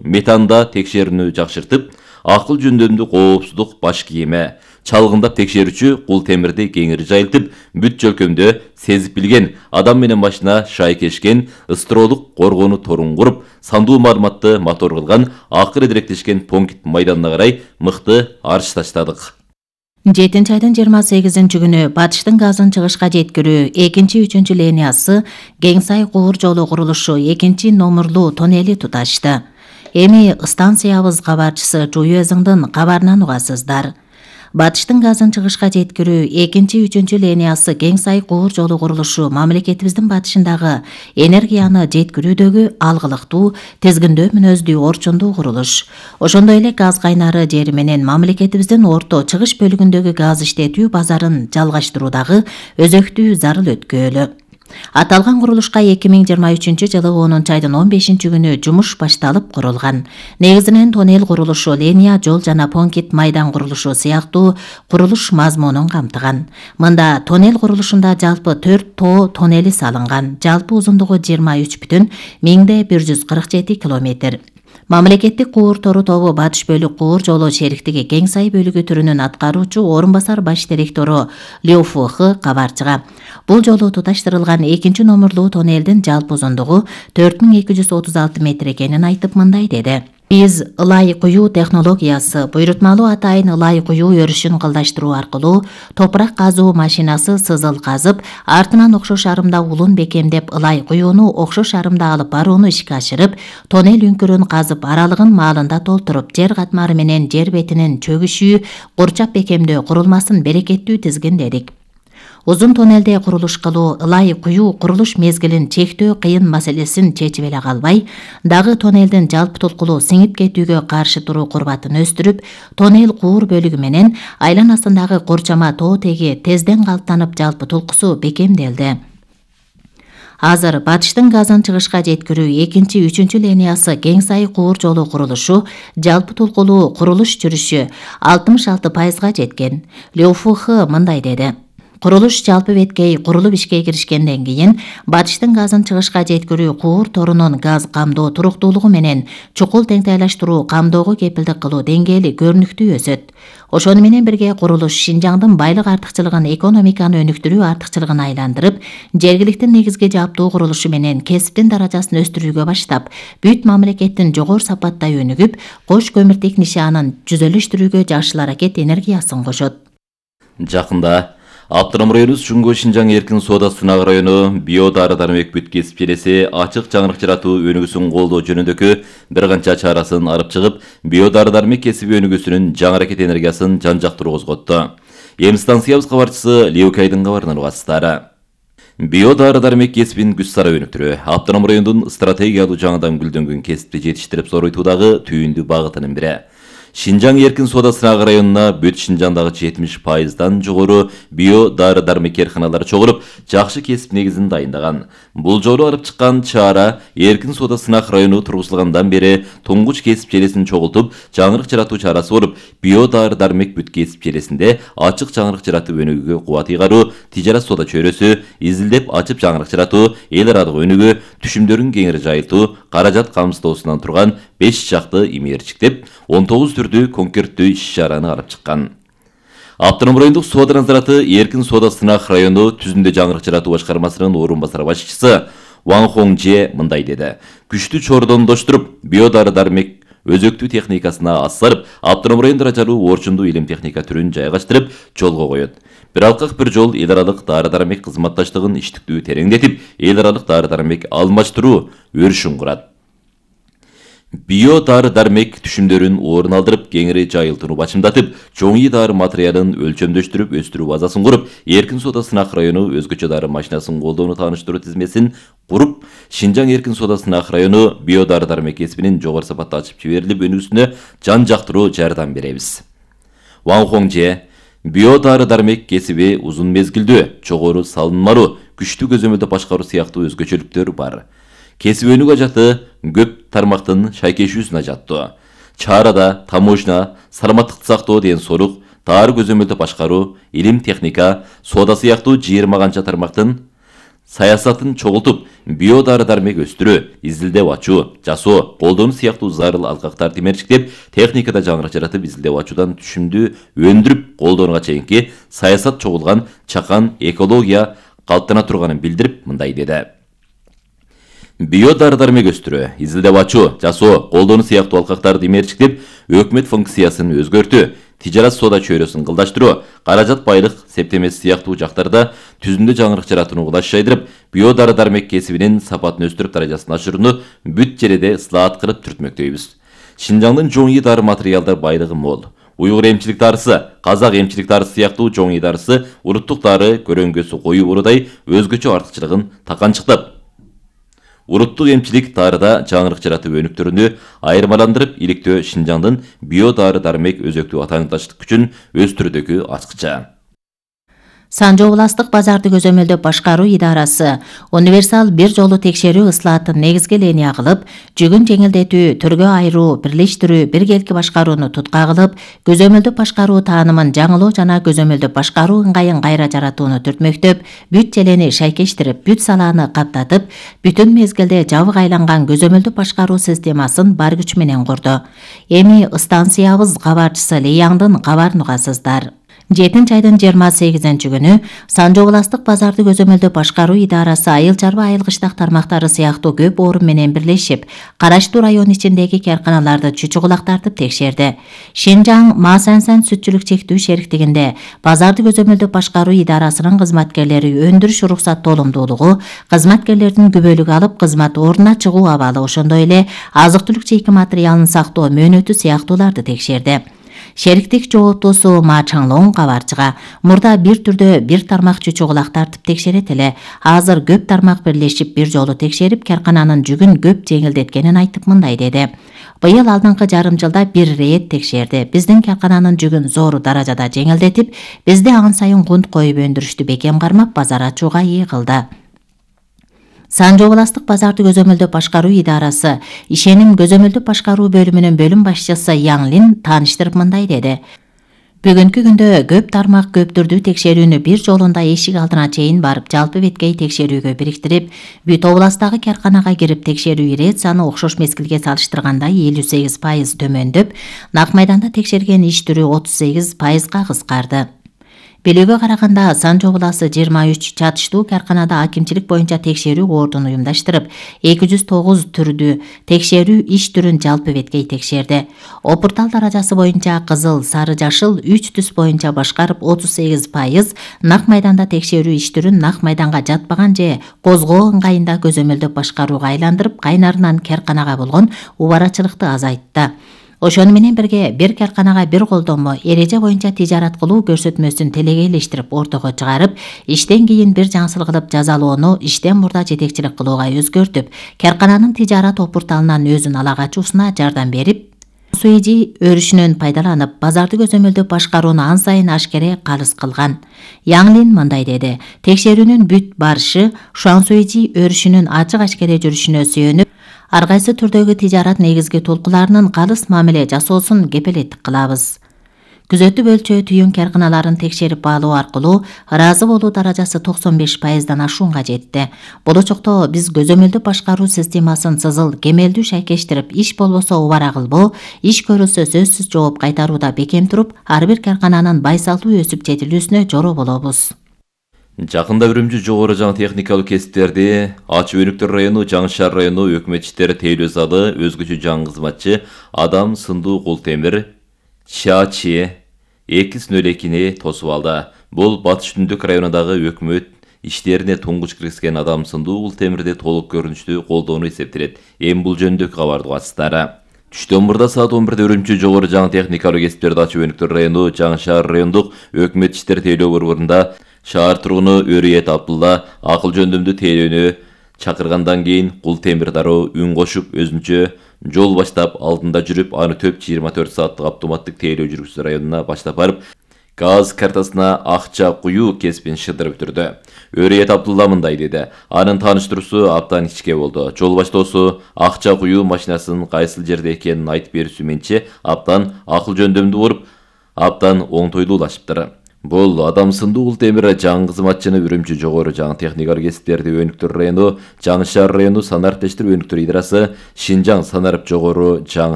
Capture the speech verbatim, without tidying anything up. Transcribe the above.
Метанда текшерүүнү жакшыртып, акыл жөндөмдүү коопсуздук баш кийими, чалгындап текшерүүчү кул темирди кеңири жайылтып, бүт жөлкөмдө сезип билген, адам менен машина шайкешкен, ыстыроолук коргонуу торун куруп, сандуу маалыматты мотор кылган, акыр эдиректешкен пункт майданына карай мыкты арыш таштадык. жетинчи айдын жыйырма сегизинчи күнү батыштын газын чыгышка жеткирүү экинчи үчүнчү линиясы Кеңсай куур жолу курулушу экинчи номурлуу тоннели туташты. Эми станциябыз кабарчысы Жуюэзиңдин кабарынан угасыздар. Батыштын газын чыгышка жеткирүү экинчи үчүнчү линиясы Кеңсай куур жолу курулушу мамлекетибиздин батышындагы энергияны жеткирүүдөгү алгылыктуу, тизгиндөө мүнөздүү орчундуу курулуш. Ошондой эле газ кайнары жери менен мамлекетибиздин орто чыгыш бөлүгүндөгү газ иштетүү базарын жалгаштыруудагы өзөктүү зарыл өткөөлү. Аталган курулушка эки миң жыйырма үчүнчү жылы онунчу айдын он бешинчи күнү жумуш башталып курулган. Негизинен тоннел курулушу, линия жол жана пункт майдан курулушу сыяктуу курулуш мазмунун камтыган. Мында тоннел курулушунда жалпы төрт тоо тоннели салынган. Жалпы узундугу жыйырма үч бүтүн миңде бир жүз кырк жети километр. Мамлекеттик куур тору тобу Батыш бөлүк куур жолу шериктиги Кеңсай бөлүгү түрүнүн аткаруучу орун басар баш директору ЛФХ кабарчыга. Бул жолу туташтырылган экинчи номурлуу тоннелдин жалпы узундугу төрт миң эки жүз отуз алты метр экенин айтып мындай деди. Биз ылай куюу технологиясы, буйрутмалуу атайын ылай куюу өрүшүн кылдаштыруу аркылуу топурак казуу машинасы сызыл казып, артынан окшош арымда улун бекемдеп ылай куюуну окшош арымда алып барууну ишке ашырып, тоннел үңкүрүн казып, аралыгын маалында толтуруп, жер катмары менен жер бетинин чөгүшүү, курчап бекемдөө курулмасын берекеттүү тизгиндедик. Узун тоннелде курулуш кылуу, ылай куюу курулуш мезгилин чектөө кыйын маселесин чечип эле калбай, дагы тоннелдин жалпы толкулуу сиңип кетүүгө каршы туруу курбатын өстүрүп, тоннел куур бөлүгү менен айланасындагы курчама тоо теги тезден калыптанып жалпы толкусу бекемделди. Азыр Батыштын газын чыгышка жеткирүү экинчи үчүнчү линиясы Кеңсай куур жолу курулушу жалпы толкулуу курулуш жүрүшү алтымыш алты пайызга жеткен. ЛФХ мындай деди. Курулуш жалпы беткей курулуп ишке киришкенден кийин Батыштын газын чыгышка жеткирүү куур торунун газ камдоо туруктуулугу менен чукул теңтайлаштыруу камдоого кепилдик кылуу деңгээли көрүнүктүү өсөт. Ошону менен бирге курулуш Шинжаңдын байлык артыкчылыгын экономиканы өнүктүрүү артыкчылыгына айландырып, жергиликтин негизги жаптуу курулушу менен кесиптин даражасын өстүрүүгө баштап, бүт мамлекеттин жогору сапатта өнүгүп, кош көмүртек нишанын жүзөлүштүрүүгө жакшы аракет энергиясын кошот. Жакында Автоном району Чуңго Шинжаң эркин соода сынак району био дары дармек бүт кесип желеси ачык жаңырык жаратуу өнүгүүсүн колдоо жөнүндөгү бир канча чарасын алып чыгып, био дары дармек кесиби өнүгүүсүнүн жаңы аракет энергиясын жан жактыруу козготту. Эми станциябыз кабарчысы Леукайдын кабарынан угасыздар. Био дары дармек кесибин күч сара өнүктүрүү Автоном райондун стратегиялуу жаңыдан гүлдөнгөн кесипти жетиштирип зоройтуудагы түйүндүү багытынын бири. Шинжаң эркин соода сынак районуна бүт Шинжаңдагы жетимиш пайыздан жогору био дары дармек карканалары чогулуп, жакшы кесип негизин дайындаган. Бул жолу алып чыккан чара эркин соода сынак району тургузулгандан бери туңгуч кесип желесин чогултуп, жаңырык жаратуу чарасы болуп, био дары дармек бүт кесип желесинде ачык жаңырык жаратып өнүгүүгө кубат ыйгаруу, тижарат соода чөйрөсү, изилдеп ачып жаңырык жаратуу, эл аралык өнүгүү, түшүмдөрүн кеңири жайылтуу, каражат камсыздоосунан турган беш жакты имээрчиктеп, он тогуз түрдүү конкерттүү иш-чараны алып чыккан. Автоном райондук соода назараты эркин соода сынак району түзүндө жаңырык жаратуу башкармасынын орун басар башчысы Ван Хонже мындай деди. Күчтүү чордондоштуруп, био дары дармек өзөктүү техникасына ассарып, автоном район даражалуу орчундуу илим техника түрүн жайгаштырып, жолго коет. Бир алкак бир жол эл аралык дары дармек кызматташтыгын иштиктүү тереңдетип, эл аралык дары дармек алмаштыруу өрүшүн курат. Био дары дармек түшүмдөрүн орун алдырып, кеңири жайылтууну бачымдатып, чоңуй дары материалын өлчөмдөштүрүп, өстүрүү базасын куруп, эркин соода сынак району өзгөчө дары машинасын колдоону тааныштыруу тизмесин куруп, Шинжаң эркин соода сынак району био дары дармек кесибинин жогору сапатта ачып жиберилип өнүгүүсүнө жан жактыруу жардам беребиз. Ван Хонже био дары дармек кесиби узун мезгилдүү, жогору салынмалуу, күчтүү көзөмөлдө башкаруу сыяктуу өзгөчөлүктөрү бар. Кесип өнүгүү ажаты көп тармактын шайкешүүсүн ажаттуу. Чарада таможня, саламаттыкты сактоо деген сорук, тары көзөмөлдө башкаруу, илим техника, соода сыяктуу жыйырма канча тармактын саясатын чогултуп, био дары дармек өстүрүү, изилдеп ачуу, жасоо, колдонуу сыяктуу зарыл алкактарды темерчиктеп, техникада жаңырык жаратып, изилдеп ачуудан түшүмдүү өндүрүп колдонууга чейинки саясат чогулган чакан экология калыптана турганын билдирип, мындай деди. Био дары дармек өстүрүү, изилдеп ачуу, жасоо, колдонуу сыяктуу алкактарды темерчиктеп, өкмөт функциясын өзгөртүү, тижарат соода чөйрөсүн кылдаштыруу, каражат байлык септемеси сыяктуу жактарда түзүмдүү жаңырык жаратууну улаш жайдырып, био дары дармек кесибинин сапатын өстүрүп, даражасын ашырууну бүт жерде ыслаат кылып түртмөктөйбүз. Шинжаңдын жоң ий дары материалдар байлыгы мол. Уйгур эмчилик дарысы, казак эмчилик дарысы сыяктуу жоң ий дарысы, уруттук дары көрөңгөсү коюу урудай өзгөчө артыкчылыгын таканчыктап, уруттук эмчилик дарыда жаңырык жаратуу өнүктөрүнү айырмаландырып, иликтөө Шинжаңдын био дары дармек өзөктүү атаандаштык күчүн өстүрүүдөгү ачкыча. Санжы областык базарды көзөмөлдөп башкаруу идарасы универсал бир жолу текшерүү ыслаатын негизги линия кылып, жүгүн жеңилдетүү, түргө айыруу, бирлештирүү, биргелки башкарууну тутка кылып, көзөмөлдөп башкаруу таанымын жаңылоо жана көзөмөлдөп башкаруу ыңгайын кайра жаратууну түртмөктөп, бүт желени шайкештирип, бүт салааны каптатып, бүтүн мезгилде жабык айланган көзөмөлдөп башкаруу системасын бар күч менен курду. Эми станциябыз кабарчысы Лияңдын кабарын угасыздар. жетинчи айдын жыйырма сегизинчи күнү Санжы областык базарды көзөмөлдөп башкаруу идарасы айыл чарба айыл кыштак тармактары сыяктуу көп орун менен бирлешип, караштуу район ичиндеги карканаларды чучугулак тартып текшерди. Шинжаң Маасансан сүтчүлүк чектүү шериктигинде базарды көзөмөлдөп башкаруу идарасынын кызматкерлери өндүрүш уруксат толумдуулугу, кызматкерлердин күбөлүк алып кызмат ордуна чыгуу абалы, ошондой эле азык-түлүк чейки материалын сактоо мөөнөтү сыяктууларды текшерди. Шериктик жооптуусу Ма Чаңлоң кабарчыга мурда бир түрдө бир тармак чучугулак тартып текшерет эле, азыр көп тармак бирлешип бир жолу текшерип, каркананын жүгүн көп жеңилдеткенин айтып мындай деди. Быйыл алдыңкы жарым жылда бир рейд текшерди. Биздин каркананын жүгүн зор даражада жеңилдетип, бизде ан сайын кунт коюп өндүрүштү бекем кармап, базар ачууга ий кылды. Санжы областык базарды көзөмөлдөп башкаруу идарасы ишеним көзөмөлдөп башкаруу бөлүмүнүн бөлүм башчысы Яңлин тааныштырып мындай деди. Бүгүнкү күндө көп тармак көп түрдүү текшерүүнү бир жолунда эшик алдына чейин барып, жалпы беткей текшерүүгө бириктирип, бүт областагы карканага кирип текшерүү ирет саны окшош мезгилге салыштырганда элүү сегиз пайыз төмөндөп, нак майданда текшерген иш түрү отуз сегиз пайызга кыскарды. Белүүгө караганда Санжы обласы жыйырма үч чатыштуу карканада акимчилик боюнча текшерүү ордун уюмдаштырып, эки жүз тогуз түрдүү текшерүү иш түрүн жалпы беткей текшерди. Опуртал даражасы боюнча кызыл, сары, жашыл үч түс боюнча башкарып отуз сегиз пайыз, нак майданда текшерүү иш түрүн нак майданга жатпаган же козгоо ыңгайында көзөмөлдөп башкарууга айландырып, кайнарынан карканага болгон убарачылыкты азайтты. Ошону менен бирге бир карканага бир колдонмо эреже боюнча тижарат кылуу көрсөтмөсүн телегейлештирип ортого чыгарып, иштен кийин бир жаңсыл кылып жазалоону иштен мурда жетекчилик кылууга өзгөртүп, каркананын тижарат опурталынан өзүн ала качуусуна жардам берип, суэжи өрүшүнөн пайдаланып, базарды көзөмөлдөп башкарууну ан сайын ашкере калыс кылган. Яңлин мындай деди. Текшерүүнүн бүт барышы Шуансуэжи өрүшүнүн ачык ашкере жүрүшүнө сүйөнүп, ар кайсы түрдөгү тижарат негизги толкуларынын калыс мамиле жасоосун кепилеттик кылабыз. Күзөтүп өлчөө түйүн карканаларын текшерип баалоо аркылуу ыраазы болуу даражасы токсон беш пайыздан ашуунга жетти. Болочокто биз көзөмөлдөп башкаруу системасын сызыл, кемелдүү шайкештирип, иш болбосо убара кылбоо, иш көрүлсө сөзсүз жооп кайтарууда бекем туруп, ар бир каркананын байсалдуу өсүп жетилүүсүнө жороо болобуз. Жакында Үрүмчү жогору жаңы техникалык кесиптерди Ачы Өнүктөр району, Жаңы Шаар району өкмөт иштери тейлөө залы өзгөчө жаңы кызматчы Адам Сындуу Култемир Чачи эки жүз нөл экини тосуп алды. Бул Батыш Түндүк районундагы өкмөт иштерине туңгуч киргизген Адам Сындуу Култемирди толук көрүнүштүү колдоону эсептелет. Эми бул жөнүндө кабарды угасыздар. Түштөн мурда саат он бирде Үрүмчү жогору жаңы техникалык кесиптерди Ачы Өнүктөр району, Жаңы Шаар райондук өкмөт иштери тейлөө борборунда шаар тургуну Өрүет Абдулла акыл жөндөмдүү тейлөөнү чакыргандан кийин Култемир дароо үн кошуп өзүнчө жол баштап алдында жүрүп, аны төп жыйырма төрт сааттык автоматтык тейлөө жүргүзүү районуна баштап барып, газ картасына акча куюу кесибин шыдырып өтүрдү. Өрүет Абдулла мындай деди. Анын тааныштыруусу абдан ичке болду. Жол баштоосу акча куюу машинасынын кайсыл жерде экенин айтып берүүсү менчи абдан акыл жөндөмдүү болуп, абдан оңтойлуулашыптыр. Бул Адамсындуу Ул Темир жаңы кызматчыны Үрүмчү жогору жаңы техникалык кесиптерди өнүктүрүү району, Жаңы шаар району санарип тештирүү өнүктүрүү идарасы, Шинжаң санарип жогору жаңы